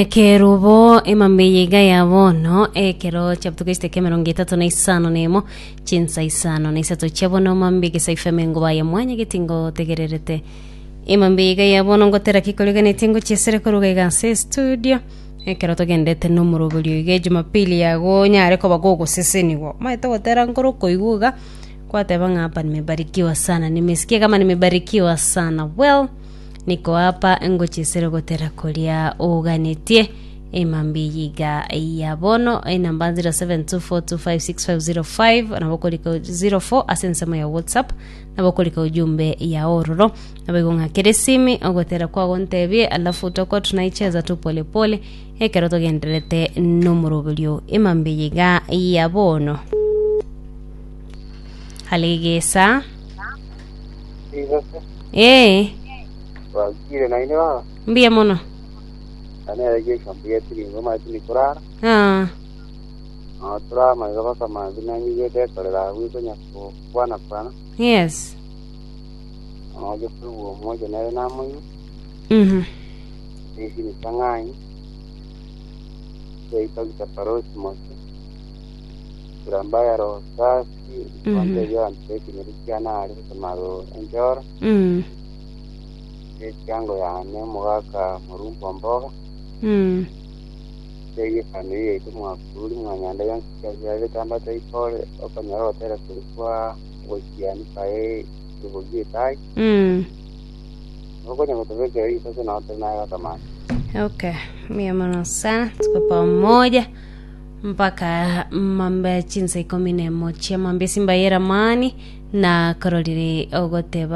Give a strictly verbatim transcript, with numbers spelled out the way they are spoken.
Ekerubo emambia iga ya bono ekero chiabutuka esiteke emerongo etato na isano na emo chinsa isano na isato chia bono mambia egesaifo emengo ya mwanya getingo tegererete emambia iga ya bono ngotera kikoreganetie ngochiesere koruga iga ase estudio ekero togendete na omoroberio iga ejumapili yago onyare koba gogoseseniwa omanyete gotera nkoro okoigwa iga kwateba ng'a hapa nimebarikiwa sana nimesikia kama nimebarikiwa sana well niko hapa ngochiesere gotera koria oganetie emambia iga ya bono enamba zero seven two four two five six five zero five nabo okorika zero four ase ensemo ya whatsapp nabo okorika ujumbe ya ororo nabo igo ng'akere esimi ogotera kwago ntebie alafu tutakuwa tunaicheza tu polepole ekero togenderete nomoroberio emambia iga ya bono halegesa Igose ee twakire naine baba mbuya mono anere geshambu getiringo maiti nikurara ah. no turamaiga bakamanzi nanyigwete ekorera agwo ikonya kwana kwana yes noje kuigwa omoja nere namoigwa mhm isi ni sang'anyi seitagita parosi mose turambaya roho safi Mhm. kwanza abantu bekinyeri kiana ari gusomaro enjoro mm. ekiango yane omogaka murumbo mboga Mm. ege family yaitu mwakuri mwanyanda yonsi kyabetamba ipole okonyora gotera kuri kwa gochiani kae rubogi etai Mm. okonya gotobekera isase naotere naye gakamani Okay, mia mono sana, tuko pamoja mpaka mambo ya chinsa ikumi na emo chia mambia simba yeramani na kororire ogoteba